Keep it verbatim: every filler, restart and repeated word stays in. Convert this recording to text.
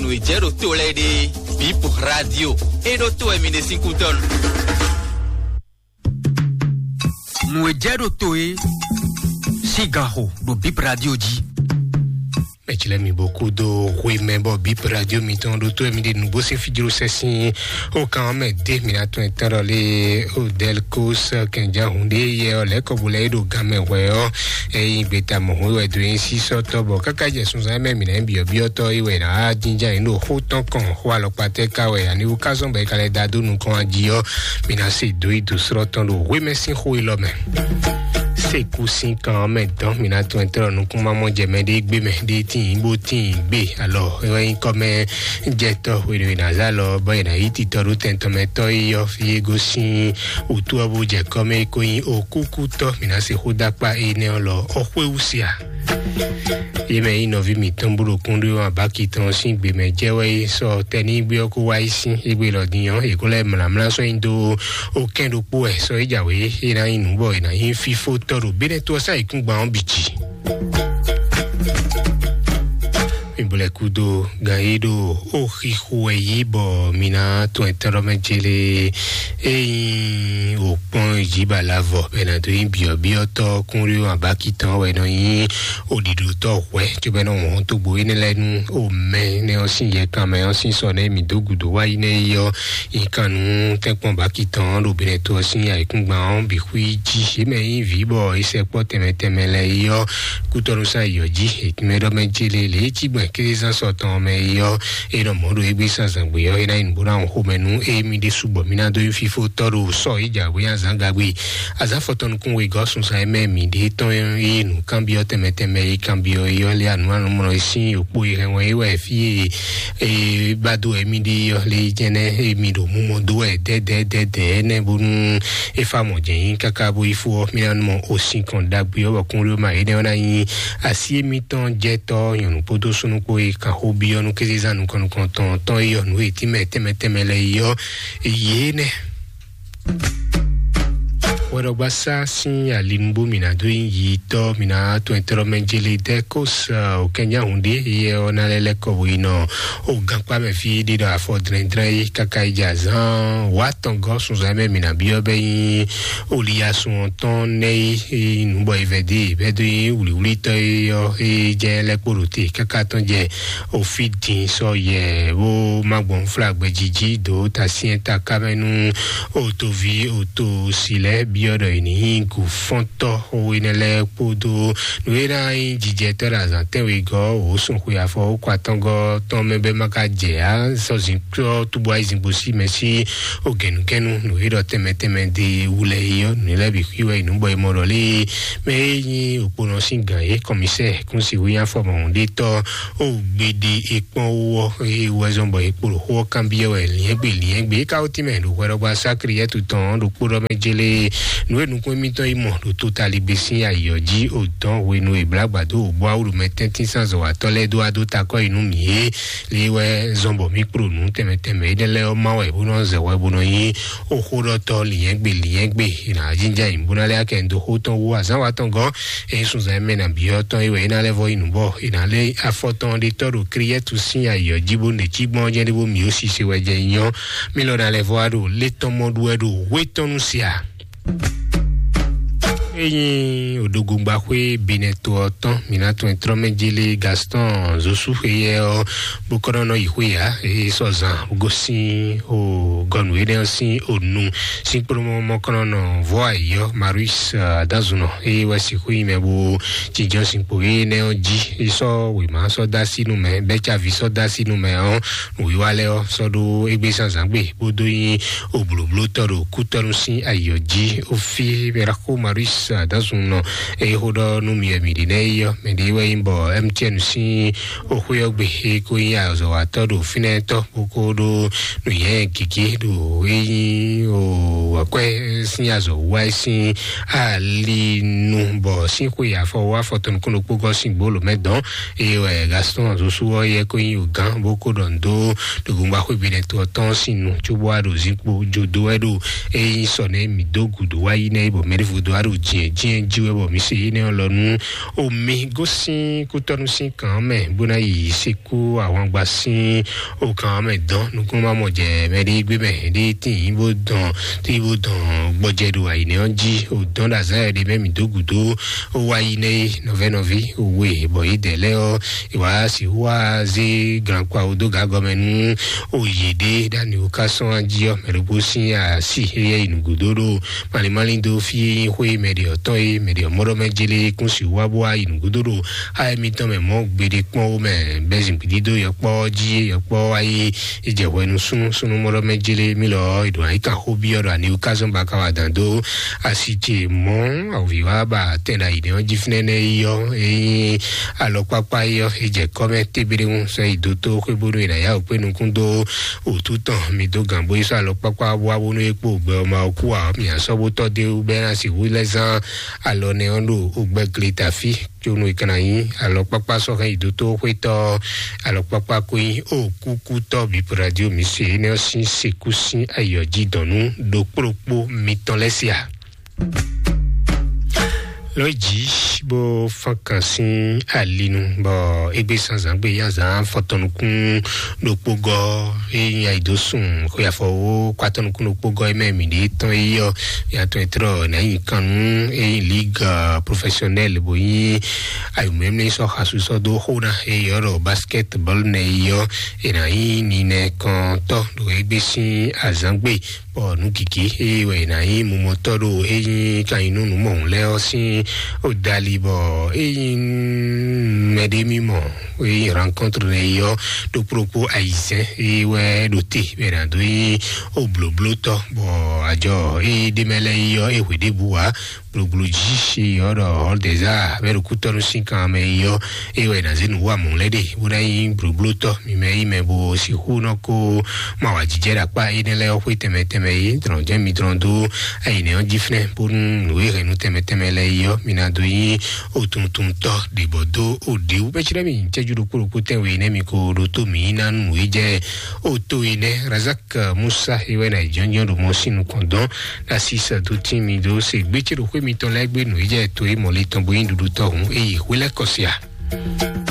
Nǔ e jɛ ɖo to lɛ́ɛ ɖe, Bip Radio. É ɖó to wɛ mi ɖe sín kútɔ́ nu. Nǔ e jɛ ɖo to é sín ganxo ɖo Bip Radio jí. Mɛtsilɛ mi bɔ kúdó hwemɛ bɔ Bip Radio mitɔn ɖo to wɛ mi ɖe nǔgbó sín fíjló sɛ sín ó kan mɛ dé mi ná tɔn tɔn lé ó Delcos kɛnjá hun ɖé yɛ ɔ lɛ́ kɔbu lɛ é ɖo gan mɛ hwɛ ɔ. Eyin gbeta mɔ̌hún wɛ dó yín sísɔ́tɔ́ bɔ káká jɛ sunzán mɛ mǐ nɛ́ byɔ̌byɔ́tɔ́ é wɛ ná jínjá yín ɖo xó tɔn kɔn xó alɔkpa tɛ́ ká wɛ aniwú ká zɔn bɔ é ka lɛ́ da dó nukɔn jí ɔ́, mǐ ná se dó yi dǒ slɔ́ tɔn ɖo hwémɛ sín xó élɔ́ mɛ. Sékú sín kan ɔ́ mɛ dɔn mǐ ná tɔn ɛ tlɔ́ nukúnmamɔ jɛ mɛ ɖé gbé mɛ ɖé tíin bó tíin gbé alɔ é wɛ nyí kɔ́mɛ jɛtɔ́ hwenu e è nǎ zá lɔ bɔ è nǎ yí titɔ ɖó tɛn tɔn mɛ tɔ́ yi ɔ́ fí é gosín wǔtu ɔ́ bó jɛ kɔ́mɛ é kó nyí okúkútɔ́ mǐ ná se xó dó akpá énɛ́ ɔ́ lɔ ɔ́ xwé wú sia. Yě mɛ nyí nɔví mǐtɔn bó ɖo kúnɖó ɔ́ abáki tɔn sín gbe mɛ jɛ wɛ é sɔ tɛnígbe ɔ́ kó wá yi sín égbé lɔ din ɔ́ è kó lɛ́ mlǎmlá sɔ́ nyi dó ó kɛn ɖokpó wɛ sɔ é jǎwe é ná nyí nǔ bɔ è nǎ nyí fífó tɔ́ ɖo bénɛ́ tó ɔ́ sá yǐkúngban ɔ́ bǐ jí. Mi bo lɛ kúdó gan yí ɖo ó xixo wɛ yí bɔ mi ná tɔn ɛtɛ́ ɖɔ mɛ jélé é nyí òkpɔn jí ba la vɔ bɛ ná dó nyí byɔ̌byɔ́tɔ́ kúnɖó abáki tɔn wɛ nɔ nyí òɖìɖòtɔ́ hwɛ cóbɛ́nɔ wɔn tógbó énɛ́ lɛ́ɛ nú omɛ nɛ ɔ́ sín yɛkan mɛ ɔ́ sín sɔ nɛ mi dó gǔdo wá yi nɛ yi ɔ́ yi kan nú tɛ́nkpɔn báki tɔn ɖo bɛnɛ to ɔ́ sín ayǐkúngban ɔ́ bǐ xwí jí yě mɛ nyí vǐ bɔ é sɛkpɔ́ tɛnmɛ tɛnmɛ lɛ yi ɔ́ kútɔ́nú sán yi ɔ́ jí ètúnmɛ ɖɔ mɛ jélé lě é cí gbɔn kézán sɔ tɔn mɛ yi ɔ́ é nɔ mɔ̌ ɖo égbé sán zǎngbé ɔ́ é ná nyí nǔ bó ná wɔn xomɛ nú émí ɖésú bɔ mí ná dó nyí fífó tɔ́ ɖo sɔ yi jǎwe azǎn gagbe azǎn fɔtɔnukún wegɔ́ sunzan e mɛ mǐ ɖe tɔn yi nǔkanbyɔ́ tɛnmɛ tɛnmɛ yi kanbyɔ́ yi ɔ́ lé anǔ anumlɔ yi sín òkpó yi hɛn wɛn yi wɛ fí e ba dó wɛ mí ɖe yi ɔ́ lé yi jɛnɛ e mi ɖo mú mɔ dó wɛ dɛdɛdɛdɛ ɛnɛ bónú é fa mɔ jɛ yín káká bó yi fó ɔ́ mí ná mɔ osin kɔn ɖagbe ɔ́ bɔ kún ɖó ma énɛ́ ɔ́ ná nyí así émítɔn jɛtɔ́ nyɔ̌nu kpódó súnnu kpó yi kan xó byɔ́ nú kézezán nukɔn nukɔn tɔn tɔn yi ɔ́ nǔ e tínmɛ tɛnmɛ tɛnmɛ lɛ yi ɔ́ yě nɛ. Hwɛɖɔgbasá sín alinubó mǐ ná dó nyí yitɔ́ mǐ ná to ɛtɛ́lɔ́mɛ jélé dɛ́ kó sa òkɛnyáhùn ɖé yɛ ɔ́ ná lɛ́ lɛ́ kɔ wěnɔ o gankpá mɛ fí ɖé ɖɔ afɔ dlɛ́ndlɛ́n yí káká yi jɛ azán wǎ tɔn gɔ́ sunzán mɛ mǐ ná byɔ́ bɛ́ nyí oliyasún ɔ́ tɔn nɛ́ yí nǔ bɔ yi vɛ̌ dé bɛ́ dó nyí wlǐwlítɔ́ é ɔ́ é jɛ lɛ́ kpo ɖo te káká tɔn jɛ òfí din sɔ yɛ bó má gbɔn fla gbɛjiji dó tasyɛn taká mɛ nú òtoví òtòsí lɛ́ɛ byɔ́ ɖɔ è ní nyí gǔfɔ́ntɔ́ xó énɛ́ lɛ́ɛ kpódó nǔ e ná nyí jijɛtɔ́ ɖo azǎn tɛ́nwegɔ́ wǒ sun xwe afɔ wó kɔ atɔ́ngɔ́ tɔn mɛ bɛ́ má ka jɛ ǎ sɔzǐnkplɔ́ túbú ayizíngbo sí mɛ sí ògɛ̌núgɛ́nú nǔ e ɖɔ tɛnmɛ tɛnmɛ de wú lɛ́ɛ é ɔ́ nǔ lɛ́ɛ bǐ xwí wɛ nǔ bɔ è mɔ ɖɔ lé mɛ e nyí òkponɔ sín gǎn é kɔmísɛ kún si wú nyí afɔmɔhún ɖé tɔ́ ó gbede é kpɔ́n wú ɔ́ é wú wɛ zɔ́n bɔ é kpo ɖo xó ɔ́ kanbyɔ́ wɛ liɛ́ngbe liɛ́ngbe é ka wó tínmɛ ɖo hwɛɖɔgbá sákriɛ́tu tɔn ɖo kpóɖɔ mɛ jélé nǔ e nukún émítɔn yi mɔ ɖo totaligbe sín ayǐ ɔ́ jí ò dɔn hwenu e blǎgbǎ dó wǒ bó awúɖumɛ tɛ́ntín sín azɔ̌watɔ́ lɛ́ɛ dó wá dó takɔ́ yi nú mǐ é lě wɛ zɔn bɔ mí kpló nǔ tɛnmɛ tɛnmɛ énɛ́ lɛ́ɛ ɔ́ má wɛ bó nɔ́ zɛ hwɛ bó nɔ nyí ó xó ɖɔ tɔ́ liɛ́ngbe liɛ́ngbe è nǎ jínjɔ́n ayǐ bó ná lɛ́ akɛ do xó tɔn wú azǎn wa tɔn gɔ́n é nyí sunzan e mɛ nǎ byɔ́ tɔn é wɛ é ná lɛ́ vɔ yi nǔ bɔ è nǎ lé afɔ tɔn ɖé tɔ́ ɖo kriɛ́tu sín ayǐ ɔ́ jí bó nɔ cí gbɔn ɔ́ jɛ́n ɖé bó mǐ ó sise wɛ jɛ nyí ɔ́ mí lɔ ná lɛ́ vɔ wá ɖo lé tɔn mɔ ɖu wɛ ɖo hwé tɔn nu sia. Enyi odogongbaxwé benɛto ɔ́ tɔn mǐ ná tɔn trɔ́mɛ jélé Gaston Zosu xweyɛ ɔ́ bó kɔ́ nɔ nɔ yi xwé ya é sɔ zan gosín o gɔnu énɛ́ ɔ́ sín onu sín kplɔ́mɔ mɔkɔnɔnɔ vɔ́ ayǐ ɔ́ Marius Adazunɔ é wɛ sixú yi mɛ bó jínjɔ́n sín kpo énɛ́ ɔ́ jí é sɔ́ wěma sɔ́ dó así nú mɛ bɛ́ caví sɔ́ dó así nú mɛ ɔ́ nǔwiwa lɛ́ɛ ɔ́ sɔ́ ɖó égbé zǎnzǎn gbe bó dó nyí òblǒblótɔ́ ɖo kútɔ́nú sín ayǐ ɔ́ jí. Ó fí Miraxo Marius Adazunɔ eye xó ɖɔ nú mi wɛ mǐ ɖe nɛ́ yi ɔ́, mɛ ɖě wɛ nyí bɔ M T N sín oxwé ɔ́ gbe é kó nyí azɔ̌watɔ́ ɖo fínɛ́tɔ́ bó kó ɖó nǔnywɛ́ gěgé ɖo é nyí o akwɛ́ sín azɔ̌ wá é sín ali nu bɔ sín xwe afɔ wá fɔtɔn nukún ɖokpó gɔ́ sín gbolo mɛ dɔn eye wɛ Gaston Zosu ɔ́ yɛ kó nyí ogán bó kó ɖɔ nǔ dó ɖo gbongba xwé gbe nɛ to ɔ́ tɔn sín nu cóbó wá ɖo zinkpo jodo wɛ ɖo eye nyí sɔ nɛ mǐ dó gǔdo wá yi nɛ bɔ mɛɖěvo dó wá ɖo jǐ Jɛnjɛn jí wɛ bɔ mi se énɛ́ ɔ́ lɔ nú omi gosín kútɔ́nú sín kàn mɛ bó ná yi sekú ahwangba sín okàn mɛ dɔn nukúnmá mɔ jɛ mɛ ɖé gbé mɛ ɖé tín bó dɔn tí bó dɔn gbɔjɛ ɖo ayǐnɛ ɔ́ jí o dɔn ɖo azán yɛ ɖé mɛ mi dó gǔdo o wá yi nɛ nɔvɛ nɔvi o we bɔ yi dɛ lɛ ɔ e wá si wá zé gran kpa o dó gǎ gɔmɛ nú o yě ɖé ɖani o ká sɔn jí ɔ mɛ ɖokpó sín asi e yɛ yi nǔgúdo ɖo malimali dó fí e nyí xwé mɛ ɖe ɔtɔn e mɛ ɖe ɔmɔɖɔ mɛ jele kún si wá bó wá yi nǔgúdo ɖo ayé mitɔn mɛ mɔ gbeɖe kpɔn wo mɛ bɛ zin gbidi dó yɔkpɔ jí yɔkpɔ wá yi e jɛ hwɛ nú súnú súnú mɔɖɔ mɛ jele mi lɔ e ɖo ayi kan xó bi ɔ ɖo ani ka zɔn ba ka wa dan dó asi ce mɔ awuvi wá ba tɛn ɖe ayi ɖe ɔn jí fínɛ nɛ yi ɔ e nyí alɔkpakpa yi ɔ e jɛ kɔmɛ tébéɖéŋu sɔ yi dó tó xwé bónú e ɖo ayáwó kpé nukún dó òtú tɔn mi dó gǎn bó yi sɔ́ alɔkpákpá wá bónú é kpó gbɛ ɔ́ ma ɔ́ kú ǎ. Mǐ a sɔ́ bó tɔ́ dé wú bɛ́ ná sixú lɛ́ zán alɔ nɛ ɔ́ ɖo ogbɛ́ gle tafí. Có nú è ka ná nyí alɔkpákpá sɔ́ hɛn yi dó tó xwétɔ́ alɔkpákpá kó nyí ó kúkútɔ́ bǐ radio mǐ se énɛ́ ɔ́ sín sekú sín ayǐ ɔ́ jí dɔn nú ɖokpó ɖokpó mitɔn lɛ́ɛ se a? Lɔ jí bó fán kan sín alinu bɔ égbé sanzan gbé yá zan fɔtɔnukún ɖokpó gɔ e nyi ayi dó sun xwe afɔwo kpatɔnukún ɖokpó gɔ e mɛ mi ɖe tɔn e yɔ ya tɔn e trɔ na yi kan nu e nyi ligue professionnelle bo nyi ayi mɛmɛ sɔ xasu sɔ dó xó na e yɔ ɖɔ basketball nɛ e yɔ e na yi ninɛ kɔntɔ ɖo égbé sín azan gbé bɔ nǔ gěgé eye wɛ è nǎ nyí mumɔtɔ́ ɖo é nyí kanyinú nǔmɔhun lɛ́ɛ ɔ́ sín odali bɔ é nyí mɛɖé mímɔ é nyí rencontre nɛ yi ɔ́ ɖokpó ɖokpó ayizɛ́n eye wɛ ɖo te bɛ è nǎ dó nyí oblǒblótɔ́ bɔ ajɔ eye ɖé mɛ lɛ́ɛ yi ɔ́ é hwe ɖěbǔ wá gblogblo jí eye ɔ́ ɖɔ hɔn deza bɛ ɖo kútɔ́nú sín kan mɛ yi ɔ́ eye wɛ è nǎ zé nǔ wa mɔ̌ lɛ́ɛ ɖe bó ná nyí blǒblótɔ́ mi mɛ yi mɛ bo sixú nɔ kó ma wa jijɛ ɖo akpá énɛ́ lɛ́ɛ ɔ́ xwé tɛnmɛ tɛnmɛ yi drɔn jɛ́n mi drɔn dó ayǐnɛ ɔ́ jí flɛ́n bónú nǔ e hɛn nú tɛnmɛ tɛnmɛ lɛ́ɛ yi ɔ́ mi ná dó nyí otuntun tɔ́ ɖě bɔ dó oɖěwú bɛ́ cí ɖɔ mi cɛ́jú ɖokpó ɖokpó tɛnwe nɛ́ mi ko ɖo tó mi ná nú nǔ e jɛ o to e nɛ́ razak musa e wɛ ná jɔnjɔn ɖo mɔ sín nukɔn dɔn asi sɛ dó tín mi dó se gbé cé ɖo xwé mitɔn lɛ́ɛ gbé nǔ e jɛ to e mɔlí tɔn bó nyí ɖuɖu tɔn hǔn e yi xwé lɛ́ kɔ sia.